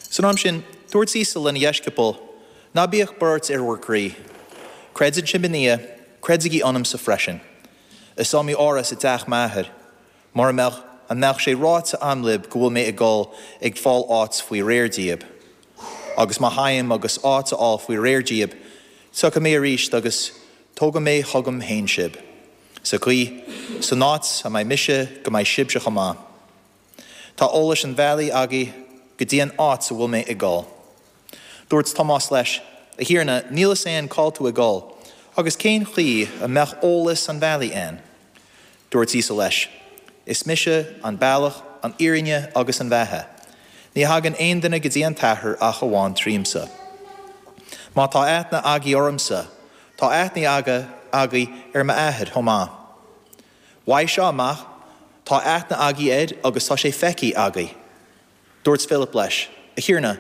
San am sin, dúirt Íosa lena dheisceabail, Ná bíodh buairt ar bhur gcroí. Creideann sibh i nDia, creidigí ionamsa freisin. Is iomaí áras i dteach m'Athar. Mura mbeadh, an mbeadh sé ráite a'm libh go bhfuil mé ag dul ag fáil áit faoi réir díob? Agus má théim agus áit a fháil faoi réir díob, tiocfaidh mé arís agus tógfaidh mé chugam féin sibh. Sa gcaoi, san áit a mbeidh mise go mbeidh sibhse chomh maith. Tá eolas an bhealaigh agaibh go dtí an áit a bhfuil mé ag dul. Dúirt Tomás leis, A Thiarna, níl fhios a'inn cá'il tú ag dul, agus cén chaoi a mbeadh eolas an bhealaigh a'inn? Dúirt Íosa leis, Is mise an bealach, an fhírinne agus an bheatha. Ní thagann aon duine go dtí an tAthair ach amháin tríomsa. Má tá aithne agaibh ormsa, tá aithne agaibh ar m'Athair chomh maith. Uaidh seo amach, tá aithne agaibh air agus tá sé feicthe agaibh. Dúirt Philip leis, A Thiarna,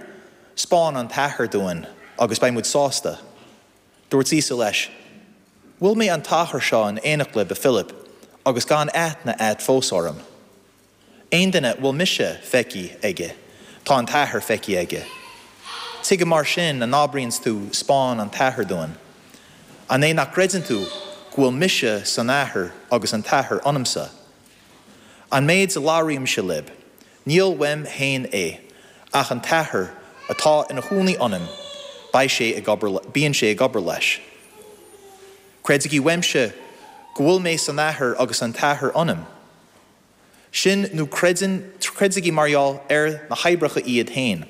'spáin an tAthair dúinn agus beidh muid sásta. Dúirt Íosa leis, 'Bhfuil mé an t-achar seo in éineacht libh, a Philip, agus gan aithne a'd fós orm? Aon duine a bhfuil mise feicthe aige, tá an tAthair feicthe aige. Tuige mar sin a n-abraíonns tú 'Spáin an tAthair dúinn? An é nach gcreideann tú go bhfuil mise san Athair agus an tAthair ionamsa? An méid a labhraímse libh, níl uaim féin é, ach an tAthair atá ina chónaí ionam, beidh sé ag obair, bíonn sé ag obair leis. Creidigí uaimse go bhfuil mé san Athair agus an tAthair ionam. Sin nó creideann, creidigí mar gheall ar na hoibreacha iad féin.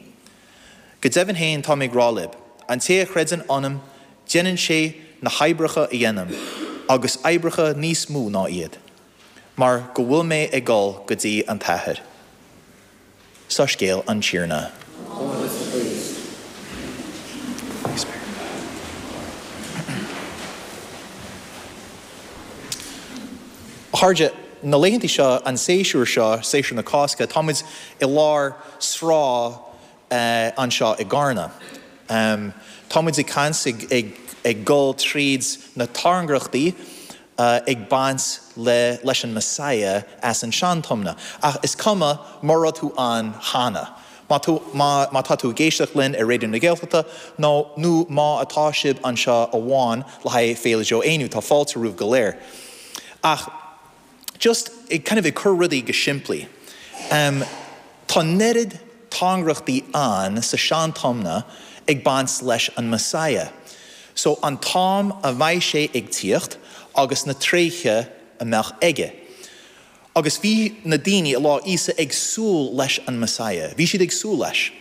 Go deimhin féin tá mé ag rá libh, an té a chreideann ionam, déanann sé na hoibreacha a dhéanaim, agus oibreacha níos mó ná iad, mar go bhfuil mé ag dul go dtí an tAthair. Soiscéal an Tiarna. A chairde, na laethanta seo, an séasúr seo, séasúr na Cásca, táimid i lár sraith anseo i gCarna. Táimid ag caint, ag dul tríd na tairngreachtaí ag baint le leis an Messiah as an Sean-Tiomna. Ach is cuma mura raibh tú ann cheana. Má tú má má tá tú ag éisteacht linn ar Raidió na Gaeltachta nó nó má atá sibh anseo amháin le haghaidh Féile Joe Éinniú, tá fáilte romhaibh go léir. Ach just ag kind of ag cur rudaí go simplí. Tá an oiread tairngreachtaí ann sa Sean-Tiomna ag baint leis an Messiah. So an t-am a mbeidh sé ag tíocht agus na tréithe a mbeadh aige. Agus bhí na daoine i lá Íosa ag súil leis an Messiah. Bhí siad ag súil leis.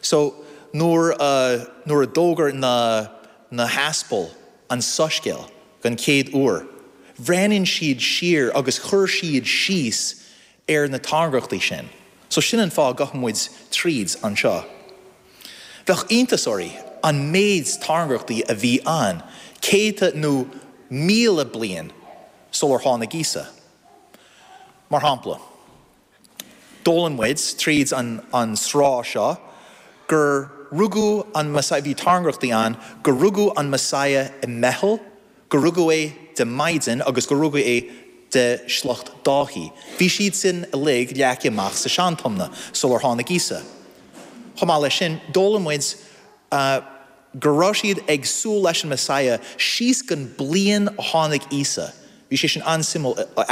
So nuair a nuair a d'fhógair na na haspail an soiscéal den chéad uair, bhreathnaigh siad siar agus chuir siad síos ar na tairngreachtaí sin. So sin an fáth a gabhann muid tríd anseo. Bheadh iontas oraibh an méid tairngreachtaí a bhí ann céadta nó 1,000 bliain sular tháinig Íosa. Mar shampla, d'fhoghlaim muid tríd an sraith seo gur rugadh an Messiah, bhí tairngreachtaí ann gur rugadh an Messiah i mBeithil, gur rugadh é de mhaighdean agus gur rugadh é de shliocht Dáithí. Bhí siad sin uilig leagtha amach sa Sean-Tiomna sular tháinig Íosa. Chomh maith leis sin, d'fhoghlaim muid go raibh siad ag súil leis an Messiah síos gon bliain a tháinig Íosa. Bhí sé sin an-suimiúil.